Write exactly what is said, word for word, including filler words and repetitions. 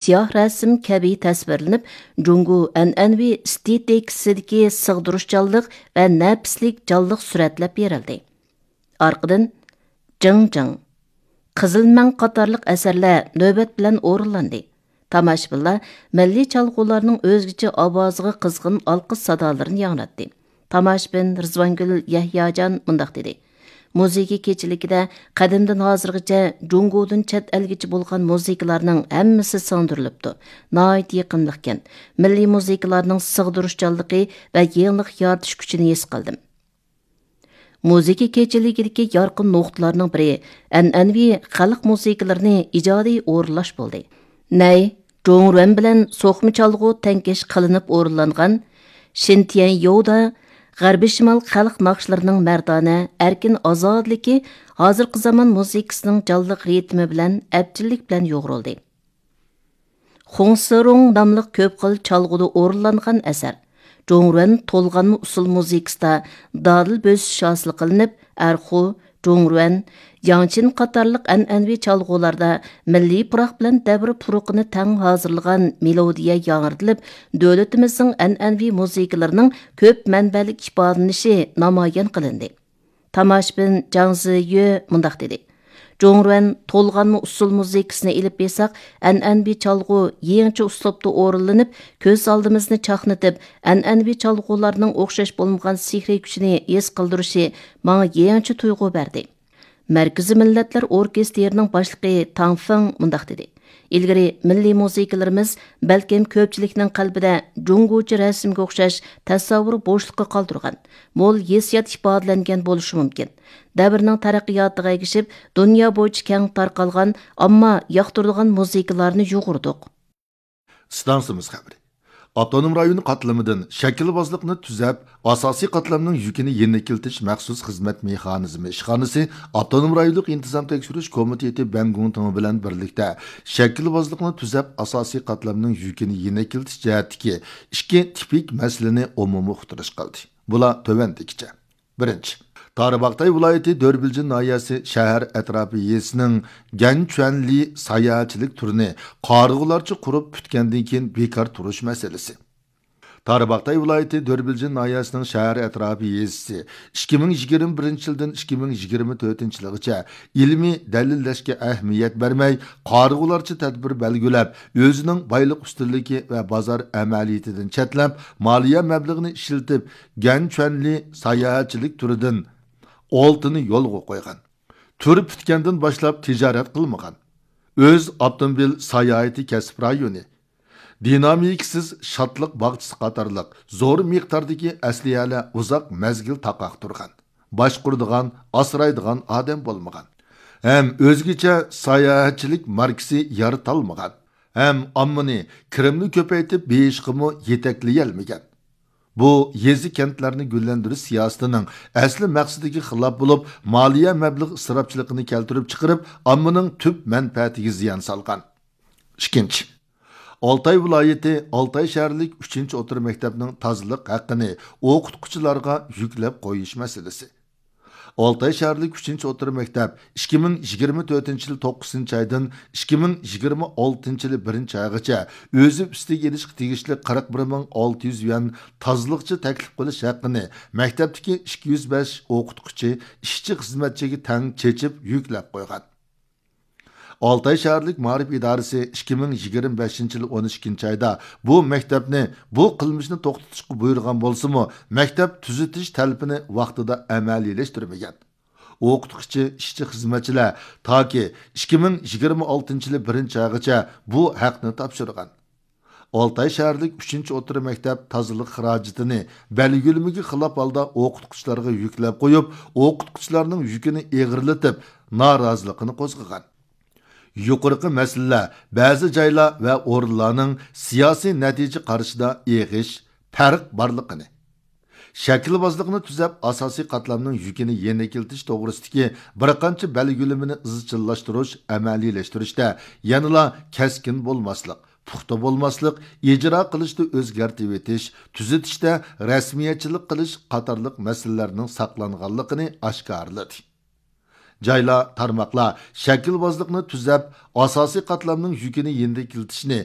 سىياھ رەسىم كەبى تەسۋىرلىنىپ، جۇڭگو ئەنئەنىۋى ئېستېتىكىسىدىكى سىغدۇرۇشچانلىق ۋە نەپىسلىك جانلىق سۈرەتلەپ بېرىلدى. ئارقىدىن جىڭ جىڭ، قىزىل مەڭ قاتارلىق ئەسەرلەر نۆۋەت بىلەن ئورۇنلاندى. تاماشىبىنلار مىللىي چالغۇلارنىڭ ئۆزگىچە ئاۋازىغا قىزغىن ئالقىش سادالىرىنى ياڭراتتى. تاماشىبىن رىزۋانگۈل يەھياجان مۇنداق دېدى: مۇزىكا كېچىلىكىدە قەدىمدىن ھازىرغىچە جۇڭگودىن چەت ئەلگىچە بولغان مۇزىكىلارنىڭ ھەممىسى سىڭدۈرۈلۈپتۇ. ناھايىتى يېقىملىقكەن. مىللىي مۇزىكىلارنىڭ سىغدۇرۇشچانلىقى ۋە يېڭىلىق يارىتىش كۈچىنى ھېس قىلدىم. مۇزىكا كېچىلىكىدىكى يارقىن نۇقتىلارنىڭ بىرى ئەنئەنىۋى خەلق مۇزىكىلىرىنى ئىجادىي ئورۇنلاش بولدى. نەي، جۇڭرۇەن بىلەن سوقما چالغۇ تەڭكەش قىلىنىپ ئورۇنلانغان شىنتيەنيودا غەربىي شىمال خەلق ناخشىلىرىنىڭ مەردانە، ئەركىن ئازادىلىكى ھازىرقى زامان مۇزىكىسىنىڭ جانلىق رىتىمى بىلەن ئەپچىللىك بىلەن يۇغۇرۇلدى. خۇڭسىرۇڭ ناملىق كۆپ خىل چالغۇدا ئورۇنلانغان ئەسەر. جۇڭرۇەن تولغانما ئۇسسۇل مۇزىكىسىدا دادىل بۆسۈش ھاسىل قىلىنىپ، ئەرخۇ، جۇڭرۇەن، ياڭچىن قاتارلىق ئەنئەنىۋى چالغۇلاردا مىللىي پۇراق بىلەن دەۋر پۇرىقىنى تەڭ ھازىرلىغان مېلودىيە ياڭرىتىلىپ، دۆلىتىمىزنىڭ ئەنئەنىۋى مۇزىكىلىرىنىڭ كۆپ مەنبەلىك ئىپادىلىنىشى نامايان قىلىندى. تاماشىبىن جاڭ زىيۆ مۇنداق دېدى: جۇڭرۇەن تولغانما ئۇسسۇل مۇزىكىسىنى ئېلىپ بېرساق، ئەنئەنىۋى چالغۇ يېڭىچە ئۇسلۇبتا ئورۇنلىنىپ، كۆز ئالدىمىزنى چاقنىتىپ، ئەنئەنىۋى چالغۇلارنىڭ ئوخشاش بولمىغان سېھرىي كۈچىنى ھېس قىلدۇرۇشى ماڭا يېڭىچە تۇيغۇ بەردى. مەركىزىي مىللەتلەر ئوركېستىرىنىڭ باشلىقى تاڭ فېڭ مۇنداق دېدى: ئىلگىرى مىللىي مۇزىكىلىرىمىز بەلكىم كۆپچىلىكنىڭ قەلبىدە جۇڭگوچە رەسىمگە ئوخشاش تەسەۋۋۇر بوشلۇقى قالدۇرغان، مول ھېسسىيات ئىپادىلەنگەن بولۇشى مۇمكىن. دەۋرنىڭ تەرەققىياتىغا ئەگىشىپ، دۇنيا بويىچە كەڭ تارقالغان، ئامما ياقتۇرىدىغان مۇزىكىلارنى يۇغۇردۇق. ئىستانسىمىز خەۋىرى. ئاپتونوم رايون قاتلىمىدىن شەكىلۋازلىقنى تۈزەپ، ئاساسىي قاتلامنىڭ يۈكىنى يېنىكلىتىش مەخسۇس خىزمەت مېخانىزمى ئىشخانىسى ئاپتونوم رايونلۇق ئىنتىزام تەكشۈرۈش كومىتېتى بەنگۇڭتىڭ بىلەن بىرلىكتە شەكىلۋازلىقنى تۈزەپ، ئاساسىي قاتلامنىڭ يۈكىنى يېنىكلىتىش جەھەتتىكى ئىككى تىپىك مەسىلىنى ئومۇمىي ئۇقتۇرۇش قىلدى. بۇلار تۆۋەندىكىچە. بىرىنچى، تارباغاتاي ۋىلايىتى دۆربىلجىن ناھىيەسى شەھەر ئەتراپى يېزىسىنىڭ گەنچۈەنلى ساياھەتچىلىك تۈرىنى قارىغۇلارچە قۇرۇپ پۈتكەندىن كېيىن بىكار تۇرۇش مەسىلىسى. تارباغاتاي ۋىلايىتى دۆربىلجىن ناھىيەسىنىڭ شەھەر ئەتراپى يېزىسى ئىككى مىڭ يىگىرمە بىرىنچى يىلدىن ئىككى مىڭ يىگىرمە تۆتىنچى يىلىغىچە ئىلمىي دەلىللەشكە ئەھمىيەت بەرمەي، قارىغۇلارچە تەدبىر بەلگىلەپ، ئۆزىنىڭ بايلىق ئۈستۈنلۈكى ۋە بازار ئەمەلىيىتىدىن چەتلەپ، مالىيە مەبلىغىنى ئىشلىتىپ، گەنچۈەنلى ساياھەتچىلىك تۈرىدىن ئالتىنى يولغا قويغان. تۈر پۈتكەندىن باشلاپ تىجارەت قىلمىغان. ئۆز ئاپتوموبىل ساياھىتى كەسىپ رايونى، دىنامىكىسىز شادلىق باغچىسى قاتارلىق زور مىقداردىكى ئەسلىھەلەر ئۇزاق مەزگىل تاقاق تۇرغان. باشقۇرىدىغان، ئاسرايدىغان ئادەم بولمىغان. ھەم ئۆزگىچە ساياھەتچىلىك ماركىسى يارىتالمىغان. ھەم ئاممىنى كىرىمنى كۆپەيتىپ بېيىشقىمۇ يېتەكلىيەلمىگەن. بۇ يېزا، كەنتلەرنى گۈللەندۈرۈش سىياسىتىنىڭ ئەسلى مەقسىتىگە خىلاپ بولۇپ، مالىيە مەبلىغ ئىسراپچىلىقىنى كەلتۈرۈپ چىقىرىپ، ئاممىنىڭ تۈپ مەنپەئەتىگە زىيان سالغان. ئىككىنچى، ئالتاي ۋىلايىتى ئالتاي شەھەرلىك ئۈچىنچى ئوتتۇرا مەكتەپنىڭ تازىلىق ھەققىنى ئوقۇتقۇچىلارغا يۈكلەپ قويۇش مەسىلىسى. ئالتاي شەھەرلىك ئۈچىنچى ئوتتۇرا مەكتەپ ئىككى مىڭ يىگىرمە تۆتىنچى يىل توققۇزىنچى ئايدىن ئىككى مىڭ يىگىرمە ئالتىنچى يىلى بىرىنچى ئايغىچە ئۆزى ئۈستىگە ئېلىشقا تېگىشلىك قىرىق بىر مىڭ ئالتە يۈز يۈەن تازىلىقچى تەكلىپ قىلىش ھەققىنى مەكتەپتىكى ئىككى يۈز بەش ئوقۇتقۇچى، ئىشچى، خىزمەتچىگە تەڭ چېچىپ يۈكلەپ قويغان. ئالتاي شەھەرلىك مائارىپ ئىدارىسى ئىككى مىڭ يىگىرمە بەشىنچى يىل ئون ئىككىنچى ئايدا بۇ مەكتەپنى بۇ قىلمىشنى توختىتىشقا بۇيرۇغان بولسىمۇ، مەكتەپ تۈزىتىش تەلىپىنى ۋاقتىدا ئەمەلىيلەشتۈرمىگەن. ئوقۇتقۇچى، ئىشچى، خىزمەتچىلەر تاكى ئىككى مىڭ يىگىرمە ئالتىنچى يىلى بىرىنچى ئايغىچە بۇ ھەقنى تاپشۇرغان. ئالتاي شەھەرلىك ئۈچىنچى ئوتتۇرا مەكتەپ تازىلىق خىراجىتىنى بەلگىلىمىگە خىلاپ ھالدا ئوقۇتقۇچىلارغا يۈكلەپ قويۇپ، ئوقۇتقۇچىلارنىڭ يۈكىنى ئېغىرلىتىپ، نارازىلىقىنى قوزغىغان. يۇقىرىقى مەسىلىلەر بەزى جايلار ۋە ئورۇنلارنىڭ سىياسىي نەتىجە قارىشىدا ئېغىش، پەرق بارلىقىنى، شەكىلۋازلىقنى تۈزەپ، ئاساسىي قاتلامنىڭ يۈكىنى يېنىكلىتىش توغرىسىدىكى بىر قانچە بەلگىلىمىنى ئىزچىللاشتۇرۇش، ئەمەلىيلەشتۈرۈشتە يەنىلا كەسكىن بولماسلىق، پۇختا بولماسلىق، ئىجرا قىلىشتا ئۆزگەرتىۋېتىش، تۈزىتىشتە رەسمىيەتچىلىك قىلىش قاتارلىق مەسىلىلەرنىڭ ساقلانغانلىقىنى ئاشكارىلىدى. جايلار، تارماقلار شەكىلۋازلىقنى تۈزەپ، ئاساسىي قاتلامنىڭ يۈكىنى يېنىكلىتىشنى